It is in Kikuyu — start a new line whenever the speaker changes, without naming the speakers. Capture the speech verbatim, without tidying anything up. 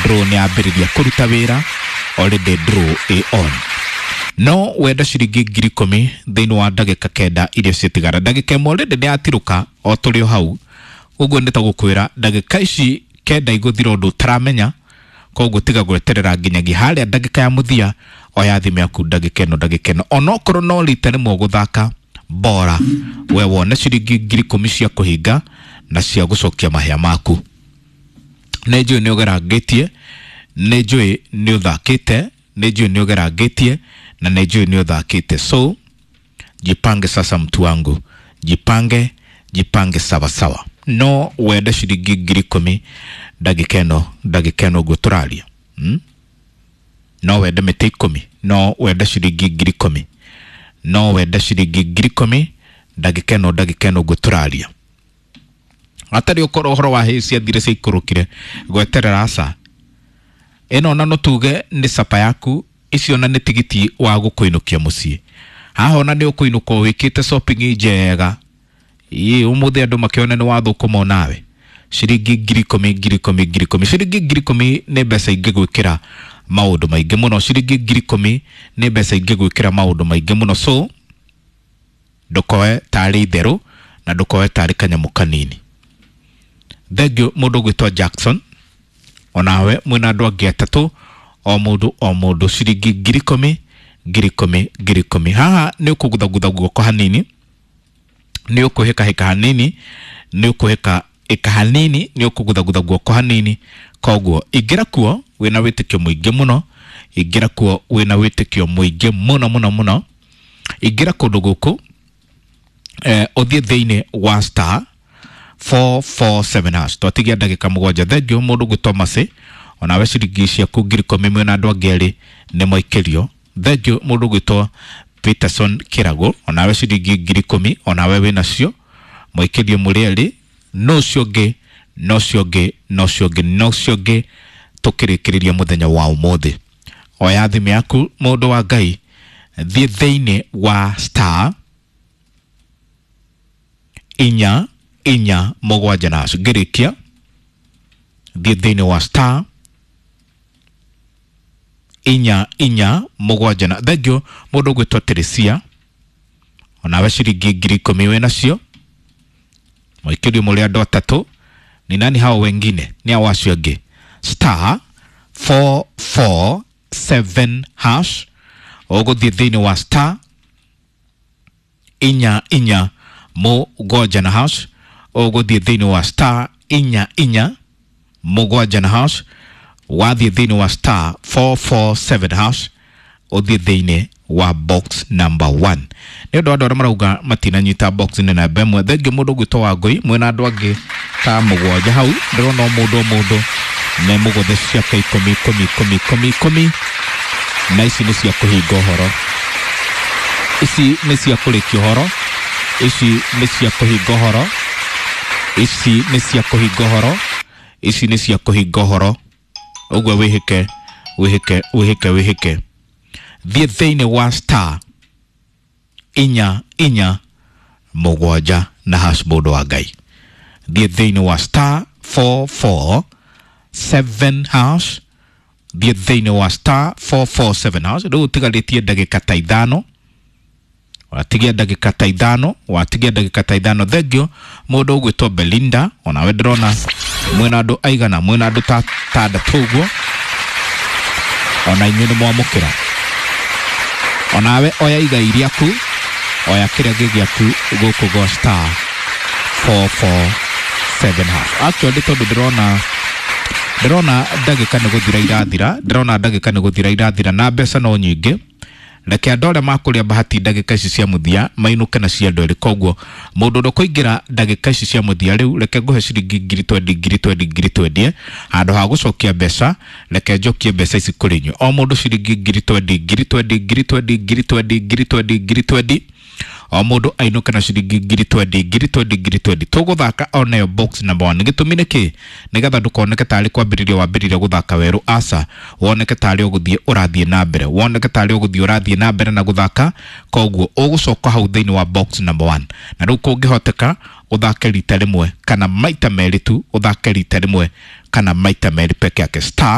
Draw nĩ yambĩrĩria kũruta wĩra already, draw ĩ on. No wenda ciringi ngiri ikũmi thĩinĩ wa ndagĩka kenda iria ciatigara. Ndagĩka ĩmwe already nĩ yatirũka o tũrĩ o hau. Ũguo nĩ ta gũkwĩra ndagĩka ici kenda igũthira ũndũ ũtaramenya. Koguo tiga gweterera nginyagia harĩa ndagĩka ya mũthia. Oya thimũ yaku ndagĩka ĩno, ndagĩka ĩno, onokorwo no rita rĩmwe gũthaka bora, we wone ciringi ngiri ikũmi cia kũhinga na cia gũcokia mahĩa maku. Nĩ njũĩ nĩ ũgerangĩtie, nĩ njũĩ nĩ ũthakĩte, nĩ njũĩ nĩ ũgerangĩtie na nĩ njũĩ nĩ ũthakĩte. So jipange sasa, mtu wangu, jipange, jipange sawasawa. No wende ciringi ngiri ikũmi ndagĩka ĩno, ndagĩka ĩno ũguo tũraria, hmm? No wende mĩtĩ ikũmi, no wende ciringi ngiri ikũmi, no wende ciringi ngiri ikũmi ndagĩka ĩno, ndagĩka ĩno ũguo tũraria. Hatarĩ ũkorwo ũhoro wa hĩ ciathire ciaikũrũkire gweterera, aca. Ĩno ona no tuge nĩ capa yaku. Icio ona nĩ tigiti wa gũkũinũkia mũciĩ. Haha ona nĩ ũkũinũka wĩkĩte shopping njega. Ĩ ũmũthĩ andũ makĩone nĩ wathũkũma nawe ciringi ngiri ikũmi, ngiri ikũmi, ngiri ikũmi. Ciringi ngiri ikũmi nĩ mbeca ingĩgwĩkĩra maũndũ maingĩ mũno. Ciringi ngiri ikũmi nĩ mbeca ingĩgwĩkĩra maũndũ maingĩ mũno. So ndũkoe tarĩ itherũ na ndũkoe tarĩ kanyamũ kanini. Thengiũ mũndũ ũgwĩtwo Jackson, onawe mwĩna andũ angĩ atatũ, o mũndũ o mũndũ ciringi ngiri ikũmi, ngiri ikũmi, ngiri ikũmi. Haha nĩ ũkũguthagutha guoko hanini, nĩ ũkwĩhĩkahĩka hanini, nĩ ũkwĩhĩka ĩka hanini, nĩ ũkũguthagutha guoko hanini. Koguo ingĩra kuo wĩna wĩtĩkio mũingĩ mũno, ingĩra kuo wĩna wĩtĩkio mũingĩ mũno mũno mũno. Ingĩra kũndũ gũkũ, eh, ũthiĩ thĩinĩ wa star four four seven hash. Twatigia ndagĩka mũgwanja. Thengiũ mũndũ gwĩtwo Mercy, onawe ciringi ciaku ngiri ikũmi mwĩna andũ angĩ erĩ nĩ mwaikĩrio. Thengiũ mũndũ gwĩtwo Peterson Kĩrago, onawe ciringi ngiri ikũmi onawe wĩnacio, mwaikĩrio mũrĩ erĩ. No ũcio ũngĩ, no ũcio ũngĩ, no ũcio ũngĩ, no ũcio ũngĩ. Tũkĩrĩkĩrĩria mũthenya wa ũmũthĩ, oya thimũ yaku, mũndũ wa Ngai, thiĩ thĩinĩ wa star inya inya mũgwanja na ngĩrĩkia. Thiĩ thĩinĩ wa star inya inya mũgwanja na. Thengiũ mũndũ ũgwĩtwo Teresia, onawe ciringi ngiri ikũmi wĩnacio, mwaikĩrio mũrĩ andũ atatũ. Ni nani hao wengine? Ni hao acio angĩ. Star four four seven hash. Ũgũthiĩ thĩinĩ wa star inya inya mũgwanja na hash. Ũgũthiĩ thĩinĩ wa star inya inya mũgwanja na hash. Wathiĩ thĩinĩ wa star four four seven hash, ũthiĩ thĩinĩ wa box number one. Nĩ ũndũ wa andũ arĩa marauga matinanyita box nĩ namba ĩmwe. Thengiũ mũndũ ũgwĩtwo Wangũi, mwĩna andũ angĩ ta mũgwanja hau. Ndĩrona o mũndũ o mũndũ nĩ mũgũthe ciake ikũmi, ikũmi, ikũmi, ikũmi, ikũmi. Na ici nĩ cia kũhinga ũhoro, ici nĩ cia kũrĩkia ũhoro, ici nĩ cia kũhinga ũhoro, ici nĩ cia kũhinga ũhoro, ici nĩ cia kũhinga ũhoro. Ũguo wĩhĩke, wĩhĩke, wĩhĩke, wĩhĩke. Thiĩ thĩinĩ wa star inya inya mũgwanja na hash. Mũndũ wa Ngai, thiĩ thĩinĩ wa star four four seven hash. Thiĩ thĩinĩ wa star four four seven hash. Rĩu ũtigarĩtie ndagĩka ta ithano, watigia ndagĩka ta ithano, watigia ndagĩka ta ithano. Thengio mũndũ ũgwĩtwo Belinda, onawe ndĩrona mwĩna andũ aigana? Mwĩna andũ ta tandatũ ũguo. Ona inyuĩ nĩ mwamũkĩra. Onawe oya igai rĩaku, oya kĩrĩa gĩ gĩaku gũkũ go star four four seven hash. Actually, tondũ ndĩrona ndĩrona ndagĩka nĩ gũthira irathira, ndĩrona ndagĩka nĩ gũthira irathira na mbeca no nyingĩ, reke andũ arĩa makũrĩa bahati ndagĩka ici cia mũthia mainũke na cia andũ erĩ. Koguo mũndũ ũrĩa ũkũingĩra ndagĩka ici cia mũthia rĩu, reke ngũhe ciringi ngiri twendi, ngiri twendi, ngiri twendi. Handũ ha gũcokia mbeca, reke njokie mbeca ici kũrĩ inyuĩ. O mũndũ ciringi ngiri twendi, ngiri twendi, ngiri twendi, ngiri twendi, ngiri twendi, ngiri twendi. O mũndũ ainũke na ciringi ngiri twendi, ngiri twendi, ngiri twendi. Tũgũthaka onayo box number one. Gĩtũmi nĩ kĩ? Nĩgetha ndũkoneke tarĩ kwambĩrĩria wambĩrĩria gũthaka werũ. Aca, woneke tarĩ ũgũthiĩ ũrathiĩ na mbere, woneke tarĩ ũgũthiĩ ũrathiĩ na mbere na gũthaka. Koguo ũgũcoka hau thĩinĩ wa box number one, na rĩu kũngĩhoteka ũthake rita rĩmwe kana maita merĩ tu. Ũthake rita rĩmwe kana maita merĩ peke yake. Star